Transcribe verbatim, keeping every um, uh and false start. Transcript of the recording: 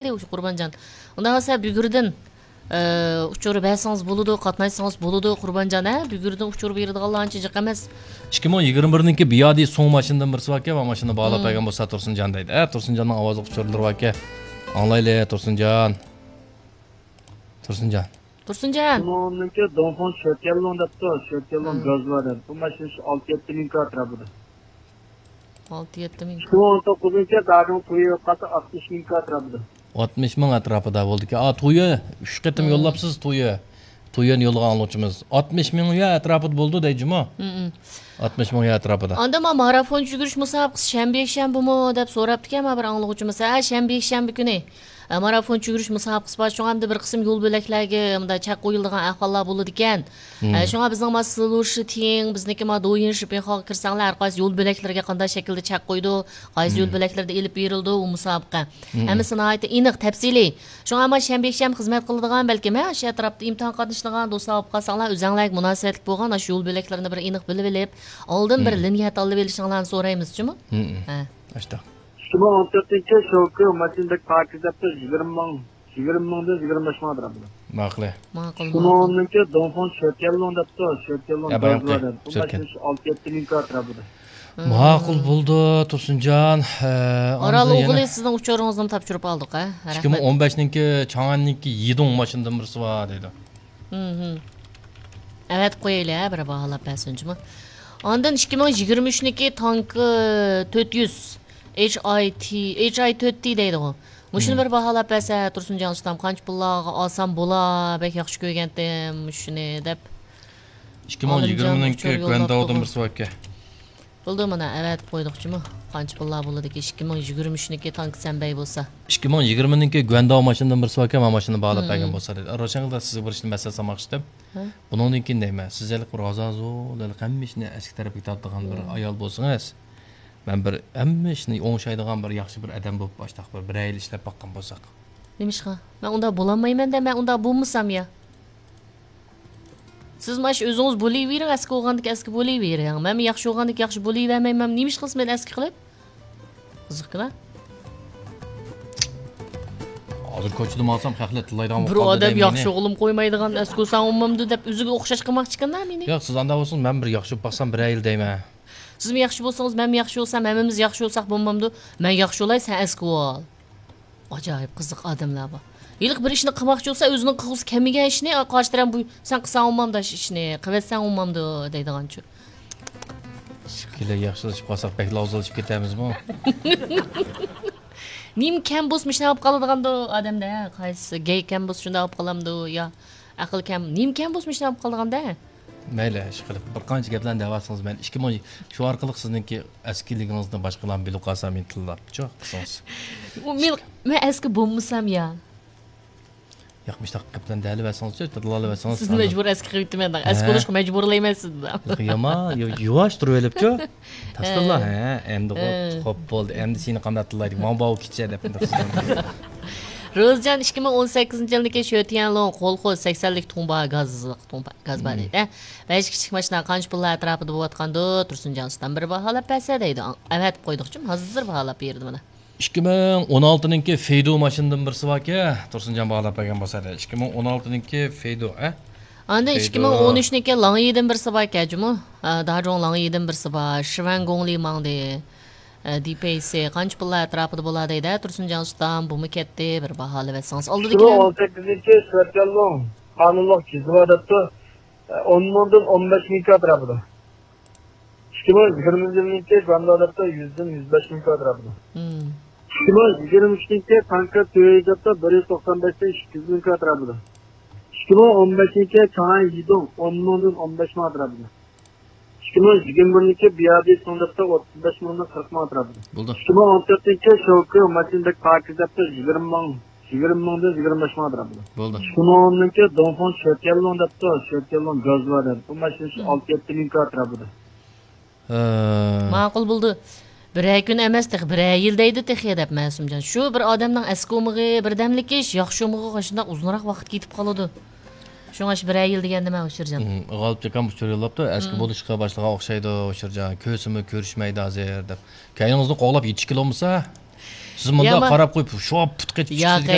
ئۇشۇ قۇربانجان. ئۇنداق بولسا بۈگۈردىن، ئە، ئۇچۇر بەرسىڭىز بولىدۇ، قاتناشسىڭىز بولىدۇ، قۇربانجان، ھە؟ بۈگۈردىن ئۇچۇر بېرىدىغانلار ئانچە جىق ئەمەس. ئىككى مىڭ يىگىرمە بىرنىڭكى بىيادى سوڭ ماشىنىدىن بىرسى باركەن، مانا ماشىنىنى باھالاپ بەرگەن بولسا تۇرسۇنجان دەيدۇ. ھە، تۇرسۇنجاننىڭ ئاۋازلىق ئۇچۇرلىرى باركەن. ئاڭلايلى، تۇرسۇنجان. تۇرسۇنجان. تۇرسۇنجان. شۇنىڭدىكى دونفوڭ شۆتيەنلۇڭ دەپتۇ، شۆتيەنلۇڭ گاز بار دەپ. بۇ ماشىنا شۇ ئالتە يەتتە مىڭ كىلو ئەتراپىدا. ئالتە يەتتە مىڭ. ئىككى مىڭ ئون توققۇزىنچى داجۇڭ تويو قالسا ئاتمىش مىڭ كىلو ئەتراپىدا. ئاتمىش مىڭ ئەتراپىدا بولدىكەن. ئا، تويو ئۈچ قېتىم يوللاپسىز، تويو. تويونى يوللىغان ئاڭلىغۇچىمىز. ئاتمىش مىڭ يۈەن ئەتراپىدا بولىدۇ دەيدۇ جۇمۇ. ئاتمىش مىڭ يۈەن ئەتراپىدا. ئاندىن ما مارافون يۈگۈرۈش مۇسابىقىسى شەنبە، يەكشەنبىمۇ دەپ سوراپتىكەن ما بىر ئاڭلىغۇچىمىز. ھە، شەنبە، يەكشەنبە كۈنى. ئە، مارافون يۈگۈرۈش مۇسابىقىسى بار. شۇڭا ئەمدى بىر قىسىم يول بۆلەكلەرگە مۇنداق چەك قويۇلىدىغان ئەھۋاللار بولىدىكەن. ئە، شۇڭا بىزنىڭ ما سىلۇشى تىڭ، بىزنىڭكى ما دويىن شىپىنخاغا كىرسەڭلار، ھەر قايسى يول بۆلەكلىرىگە قانداق شەكىلدە چەك قويىدۇ، قايسى يول بۆلەكلىرىدە ئېلىپ بېرىلىدۇ ئۇ مۇسابىقە. ھەممىسى ناھايىتى ئېنىق، تەپسىلىي. شۇڭا ما شەنبە، يەكشەنبە خىزمەت قىلىدىغان، بەلكىم، ھە، شۇ ئەتراپتا ئىمتىھان قاتنىشىدىغان دوستلار بولۇپ قالساڭلار، ئۆزەڭلارگە مۇناسىۋەتلىك بولغان ئاشۇ يول بۆلەكلىرىنى بىر ئېنىق بىلىۋېلىپ، ئالدىن بىر لىنىيە تاللىۋېلىشىڭلارنى سورايمىز جۇمۇ. ھە. ئاشتاق. ئىككى مىڭ ئون تۆتىنچى شوكى ماشىنىدەك پاكىز دەپتۇ، يىگىرمە مىڭ، يىگىرمە مىڭدىن يىگىرمە بەش مىڭ ئەتراپىدا. ماقۇل. ماقۇل، ماقۇل. شۇنىڭدىكى دونفوڭ شۆتيەنلۇڭ دەپتۇ، شۆتيەنلۇڭ ئە، بايام دەپتۇ. بۇ ماشىنا شۇ ئالتە يەتتە مىڭ ئەتراپىدا. ماقۇل بولدى، تۇرسۇنجان. ئارال ئوغلى، سىزنىڭ ئۇچۇرىڭىزنى تاپشۇرۇپ ئالدۇق، ھە؟ ئىككى مىڭ ئون بەشنىڭكى چاڭئەننىڭكى يىدۇڭ ماشىنىدىن بىرسى بار دەيدۇ. ئەۋەتىپ قويايلى، ھە، بىر باھالاپ بەرسۇنچىمۇ. ئاندىن ئىككى مىڭ يىگىرمە ئۈچنىڭكى تانكى تۆت يۈز، ھېچ ئاي تى، ھېچ ئاي تۆت تى دەيدىغۇ. مۇشۇنى بىر باھالاپ بەرسە، تۇرسۇنجان ئۇستام، قانچە پۇللارغا ئالسام بولا، بەك ياخشى كۆرگەنتىم مۇشۇنى دەپ. ئىككى مىڭ يىگىرمىنىڭكى گۇەنداۋدىن بىرسى باركەن. بولدى، مانا ئەۋەتىپ قويدۇقچىمۇ. قانچە پۇللار بولىدىكى، ئىككى مىڭ يىگىرمە ئۈچنىڭكى تانكى سەنبەي بولسا. ئىككى مىڭ يىگىرمىنىڭكى گۇەنداۋ ماشىنىدىن بىرسى باركەن، مانا ماشىنىنى باھالاپ بەرگەن بولسا دېدى. روشەنگۈل، سىزگە بىر ئىشنى مەسلىھەت سالماقچى ئىدىم. بۇنىڭدىن كېيىن دەيمەن، سىز ھېلىقى بىر ھازازۇ، ھېلىقى ھەممە ئىشنى ئەسكى تەرەپكە تارتىدىغان بىر ئايال بولسىڭىز، مەن بىر ھەممە ئىشنى ئوڭشايدىغان بىر ياخشى بىر ئادەم بولۇپ، ئاشتاق بىر، بىرەر يىل ئىشلەپ باققان بولساق. نېمىشقا؟ مەن ئۇنداق بولالمايمەن-دە، مەن ئۇنداق بولمىسام يا. سىز مانا شۇ ئۆزىڭىز بولۇۋېرىڭ، ئەسكى بولغاندىكى ئەسكى بولۇۋېرىڭ. مەنمۇ ياخشى بولغاندىكى ياخشى بولۇۋەرمەيمەن. نېمە ئىش قىلسا مېنى ئەسكى قىلىپ؟ قىزىقكىلا. ھازىر كوچىدا ماڭسام، خەقلەر تىللايدىغان بولۇپ قالدى دەيمەن مېنى. بىر ئادەم ياخشى ئوغلۇم قويمايدىغان، ئەسكى بولساڭ ئۇنىمامدۇ دەپ ئۆزىگە ئوخشاش قىلماقچىكەن-دە مېنى. ياق، سىز ئانداق بولسىڭىز، مەن بىر ياخشى بولۇپ باقسام، بىرەر يىل دەيمەن. سىزمۇ ياخشى بولسىڭىز، مەنمۇ ياخشى بولسام، ھەممىمىز ياخشى بولساق بولمامدۇ؟ مەن ياخشى بولاي، سەن ئەسكى بول. ئاجايىپ قىزىق ئادەملەر بار. ھېلىقى بىر ئىشنى قىلماقچى بولسا، ئۆزىنىڭ قىلغۇسى كەلمىگەن ئىشنى، قارشى تەرەپ بۇ، سەن قىلساڭ بولمامدۇ ئىشنى، قىلىۋەتسەڭ بولمامدۇ دەيدىغانچۇ. كېلە ياخشىلىشىپ قالساق، بەكلا ئوزۇلۇشۇپ كېتەرمىزمۇ؟ نېمە كەم بولسا مۇشۇنداق بولۇپ قالىدىغاندۇ ئادەمدە؟ قايسى گەي كەم بولسا شۇنداق بولۇپ قالامدۇ يا؟ ئەقىل كەم، نېمە كەم بولسا مۇشۇنداق بولۇپ قالىدىغاندا؟ مەيلى، ئىشقىلىپ، بىر قانچە گەپلەرنى دەۋاتسىڭىز، مەن ئىككى مىڭ، شۇ ئارقىلىق سىزنىڭكى ئەسكىلىكىڭىزنى باشقىلارمۇ بىلىپ قالسا، مېنى تىللاپچۇ قىلسىڭىز. ئۇ مېنى، مەن ئەسكى بولمىسام يا؟ ياق، مۇشۇنداق گەپلەرنى دەۋەتسىڭىزچۇ، تىللاۋەتسىڭىز. سىزنى مەجبۇر ئەسكى قىلىۋېتىمەن، ئەسكى بولۇشقا مەجبۇرلايمەن سىزنى. يامان، يۇ-، يۇۋاش تۇرۇۋېلىپچۇ. تاشلىلا، ھە، ئەمدى خوپ بولدى، ئەمدى سېنى قانداق تىللايدۇ، ماڭا باۋۇ كېچە دەپ. روزىجان، ئىككى مىڭ ئون سەككىزىنچى يىلدىكى شۆتيەنلۇڭ كولخوز سەكسەنلىك تۇڭبا گاز، تۇڭبا گاز بار دەيدۇ. بەش كىچىك ماشىنا قانچە پۇللار ئەتراپىدا بولۇۋاتقاندۇ؟ تۇرسۇنجان ئۇستام بىر باھالاپ بەرسە دەيدۇ. ئەۋەتىپ قويدۇقچۇ، ھازىر باھالاپ بېرىدۇ مانا. ئىككى مىڭ ئون ئالتىنىڭكى فېيدۇ ماشىنىدىن بىرسى باركەن، تۇرسۇنجان باھالاپ بەرگەن بولسا دەيدۇ. ئىككى مىڭ ئون ئالتىنىڭكى فېيدۇ، ئە؟ ئاندىن ئىككى مىڭ ئون ئۈچنىڭكى لاڭيىدىن بىرسى باركەن جۇمۇ. ئە، داجۇڭ لاڭيىدىن بىرسى بار. شىۋەن گوڭلى ماڭدى. ئە، دىپەيسى قانچە پۇللار ئەتراپىدا بولا دەيدۇ. تۇرسۇنجان ئۇستام، بۇمۇ كەتتى. بىر باھالىۋەتسىڭىز. ئالدىدىكى ئىككى مىڭ ئون سەككىزىنچى سۈرەتكەنلۇ قانۇنلۇق جىزۋا دەپتۇ. ئە، ئون مىڭدىن ئون بەش مىڭ ئەتراپىدا. ئىككى مىڭ يىگىرمىنچى يىلنىڭكى گۇەنداۋ دەپتۇ يۈزدىن يۈز بەش مىڭ ئەتراپىدا. ئىككى مىڭ يىگىرمە ئۈچىنچى تانكا تۆت يۈز دەپتۇ بىر يۈز توقسان بەشتىن ئىككى يۈز مىڭ ئەتراپىدا. ئىككى مىڭ ئون بەشىنچى چاڭئەن يىدۇڭ ئون مىڭدىن ئون بەش مىڭ ئەتراپىدا. ئىككى مىڭ يىگىرمە بىرىنچى بىيادى سۇڭ دەپتۇ ئوتتۇز بەش مىڭدىن قىرىق مىڭ ئەتراپىدا. بولدى. ئىككى مىڭ ئون تۆتىنچى شوكى ماشىنىدەك پاكىز دەپتۇ يىگىرمە مىڭ، يىگىرمە مىڭدىن يىگىرمە بەش مىڭ ئەتراپىدا. بولدى. شۇنىڭدىنكى دونفوڭ شۆتيەنلۇڭ دەپتۇ، شۆتيەنلۇڭ گاز بار دەپ. بۇ ماشىنا شۇ ئالتە يەتتە مىڭ ئەتراپىدا. ھە. ماقۇل بولدى. بىرەر كۈن ئەمەس تېخى، بىرەر يىل دەيدۇ تېخى دەپ مەسۇمجان. شۇ بىر ئادەمنىڭ ئەسكى ئومىقى بىردەملىك ئىش، ياخشى ئومىقىغا شۇنداق ئۇزۇنراق ۋاقىت كېتىپ قالىدۇ. شۇڭا شۇ بىرەر يىل دېگەندىمەن، ئۇچۇرجان. غالىپ ئاكام ئۇچۇر يوللاپتۇ، ئەسكى بولۇشقا باشلىغان ئوخشايدۇ، ئۇچۇرجان. كۆرسىمۇ كۆرۈشمەيدۇ ھازىر دەپ. كەينىڭىزدىن قوغلاپ يېتىشكىلى بولمىسا. سىز مۇنداق يامان. قاراپ قويۇپ شوپ پۇت قېتىپ ياق، چىقىدىكەن.